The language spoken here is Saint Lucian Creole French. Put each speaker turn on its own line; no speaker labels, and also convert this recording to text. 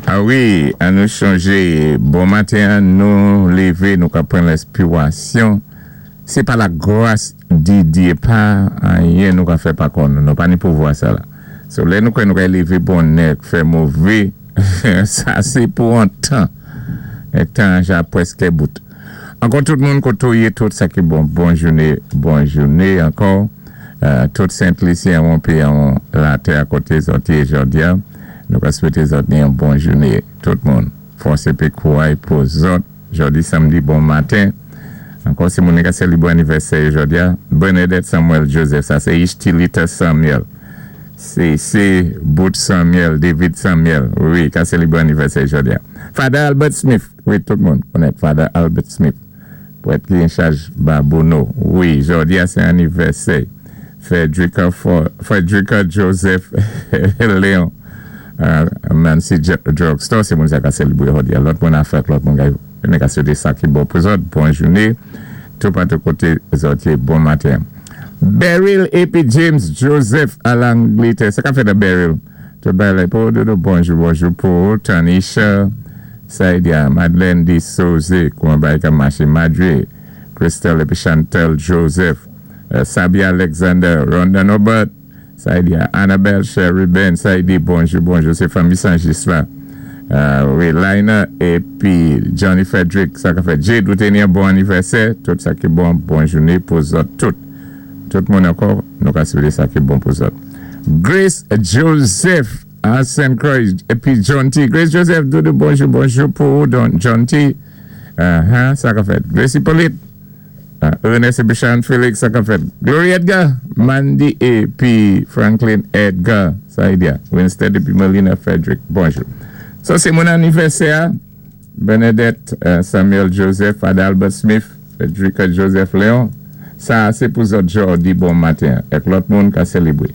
A wi, an nou chonjé, bon maten an, nou lévé, nou ka pran lèspirasyon. Sé pa la gras di Diyé, pa anyen nou ka fè pa kò nou. Nou pa ni pouvwa sa la. So lè nou kwè nou ka lévé bonè, fè mové, sa sé pou an tan. É tan ja pwèskè bout. Ankò tout moun koto yé, tout sa ki bon, bon jouné, bon jouné ankò. Tout Sent Lisyen wonpé an latè akoté zòt yé jòdi-a. Nou ka swété zòt ni yon bon jouné tout moun. Fòs épi kouray pou zòt jòdi samdi bon maten. Ankò si moun ni ka sélibwé anivèsè yo jòdi-a, Bernadette Samuel Joseph, sa sé Ishtilita Samuel. Sé Bout Samuel, David Samuel, wi, ka sélibwé anivèsè jòdi-a. Father Albert Smith, wi, tout moun konnen Father Albert Smith, prèt ki an chaj Babonneau, wi, jòdi-a sé anivèsè. Frederica Frederica Joseph Léon, Nancy Drugstore, sé moun sa ka sélibwé jòdi-a. Lòt moun a fèt, lòt moun ka nou ka swété sa ki bon pou zòt. Bon jouné, toupatou koté zòt yé, bon maten. Beryl épi James Joseph a Langlitè. Sa ka fèt a Beryl? Tout bagay la pou dodo. Bonjou, bonjou pou Tanisha, Saidia, Madeleine D. Souze, kouman bagay ka maché, Madre, Christelle épi Chantal Joseph, Sabi Alexander, Rhonda Norbert, Saidia, Annabelle Sherry Ben, Saidi, bonjou, bonjou, sé fanmi Sanjis la. Wi, Lina épi Johnny Frederick, sa ka fèt. Jade, ou té ni yon bon anivèsè, tout sa ki bon, bon jouné pou zòt tout. Tout moun ankò, nou ka swété sa ki bon pou zòt. Grace Joseph a St. Croix épi John T. Grace Joseph, doudou, bonjou, bonjou pou ou, don John T. Sa ka fèt. Grace Hippolyte, Ernest épi Sharon Felix, sa ka fèt. Glory Edgar, Mandy épi Franklin Edgar, Saidia, Winston épi Melina Frederick, bonjou. Sa sé moun anivèsè a, Bernadette Samuel Joseph, Father Albert Smith, Frederica Joseph Léon. Sa sé pou zòt jòdi bon maten, èk lòt moun ka sélibwé.